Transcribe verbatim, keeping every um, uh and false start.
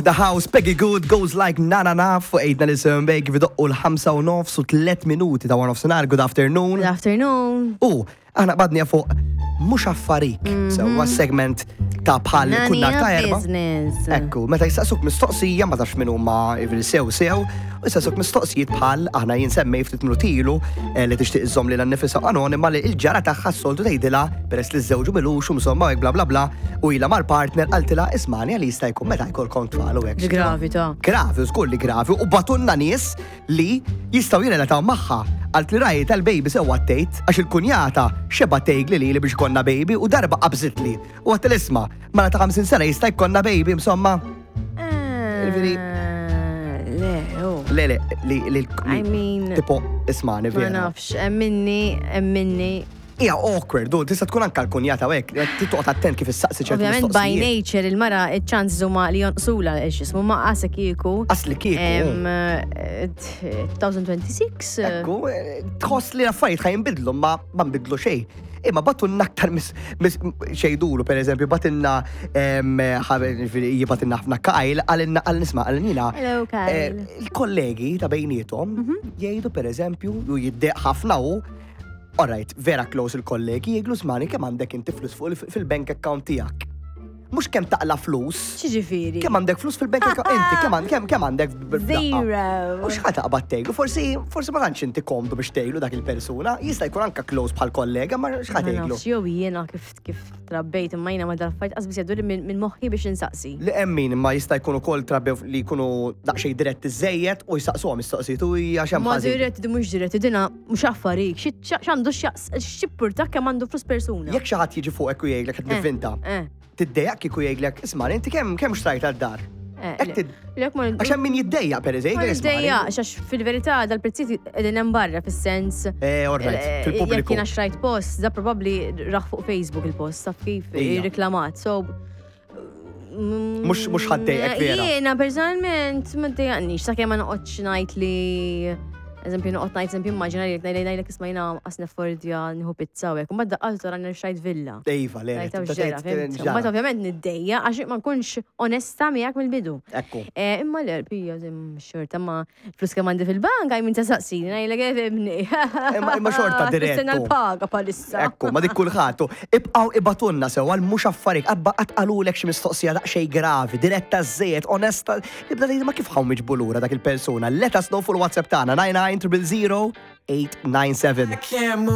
The House, Peggy Good goes like na na na fuq eight ninety-seven Bay kif idoqqu l-ħamsa u nofs u tliet minuti ta' one nofsinhar. Good afternoon. Good afternoon. U aħna qbadni fuq mhux affarik. Sewwa, segment ta' bħal kull nhar ta' Erbgħa. Business. Ekku, meta jistaqsuk mistoqsija ma tafx min huma sew sew, u jistaqsuk mistoqsijiet bħal aħna jinsemmej ftit minuti ilu eh, li tixtieq iżżomm lilha nnifisha anonima, li il-ġara tagħha s-soltu tgħidilha, peress li żewġu milux u insomma hekk bla bla bla u ilha mal-partner, qaltilha, "Ismani, għal jista' jkun meta jkollkom tfal?" u hekk. Gravi ta' Gravi, żgur li gravi, u bagħtulna nies li jistgħu jirrelataw magħha. Għalt li rajt tal-baby sew għattejt, għax il-kunjata xeba tgħidli li li biex konna baby u darba qabżitli. U għedt, "Isma', mara ta' ħamsin sena jista' jkollna baby?" Insomma. Ġifieri- Le, oh. Le, le, li, li, I mean, tipo, ismani, ma vera. nafx, emminni, emminni. Hija awkward, du, tista' tkun anka l-kunjata u hekk, tittoqgħod attent kif issaqsi ċertu Ovvjament, by mistoqsijiet. nature, il-mara, il-chance huma li jonqsula x'jismu ma qasek kieku. Asli kieku. Em, eh, elfejn u sitta u għoxrin. Ekku, eh, tħoss li l-affarijiet ħa jinbidlu, ma ma nbidlu xejn. Imma bagħtulna aktar mis, mis xejdulu, per eżempju, bagħtilna jibgħatilna ħafna Kyle, qalilna, għal nisma, għalnina. Hello, Kyle. Il-kollegi ta' bejniethom jgħidu, per eżempju, u jiddeq ħafna u alright, vera close il-kollegi, jgħidlu, "Ismani, kemm għandek inti flus fuq il- fil-bank account tiegħek?" Mhux kemm taqla flus, X'jiġifieri? kemm għandek flus fil-bank account, inti, kemm għand- kemm kemm għandek b'daqqa? Zero. U x'ħa taqbad tgħidlu? Forsi forsi ma tantx inti komdu biex tgħidlu dak il-persuna, jista' jkun anka close bħal kollega, ma x'ħa Ma tgħidlu? nafx, jew jiena kif kif trabbejt, imma jiena ma dal-affarijiet qas biss jgħaddu minn minn moħħi biex insaqsi. Li hemm min ma jista' jkun ukoll trabbew li jkunu daqsxejn diretti żejjed u jistaqsuhom mistoqsijiet u hija x'hemm Ma ħażin. diretti, di mhux diretti, dina mhux affarik. X'għandu x'jimpurta kemm għandu flus persuna? Jekk xi ħadd jiġi fuqek u jgħidlek qed Eh, nivvinta, Eh, tiddejjaq kieku jgħidlek, "Isma', inti kemm kemm xtrajt għad-dar?" eh. Hekk tid- Lek ma Għax hemm min jiddejjaq, per eżempju, Ma jgħidlek, "Isma' niddejjaq, għax fil-verità dal-prezzijiet qegħdin hemm barra fis-sens. Eh, all right, eh, fil-pubbliku. Jekk jiena xrajt post, da probabbli raħ fuq Facebook il-post, taf kif Ija. reklamat. So mm, Mhux- mhux ħa ddejqek vera. Jiena personalment ma ddejjaqnix, sakemm ma noqgħodx ngħid li, eżempju, noqgħod ngħid, eżempju, immaġina li ngħid ngħidlek, "Isma', jiena qas neffordja nieħu pizza" u hekk. U mbagħad daqqal tara xtrajt villa. Iva, le, Rajta tibda x'ġara, tgħid, fhimt? ġara. Mbagħad ovvjament niddejja għax ma nkunx onesta miegħek mill-bidu. Ekku. Eh, Imma l pija xorta ma flus kemm għandi fil-bank, għaj minn ta' saqsini, ngħidlek ifhimni. Imma- imma xorta direttu. Nistenna l-paga palissa. Ekku, ma dik kulħadd. Ibqgħu ibgħatulna sew għal mhux affarik, abba qatt qalulek xi mistoqsija daqsxejn gravi, diretta żejjed, onesta, nibda ngħid ma kif ħaw miġbu lura dak il-persuna. Let us know fuq il-WhatsApp tagħna nine nine zero zero eight nine seven. Can't move.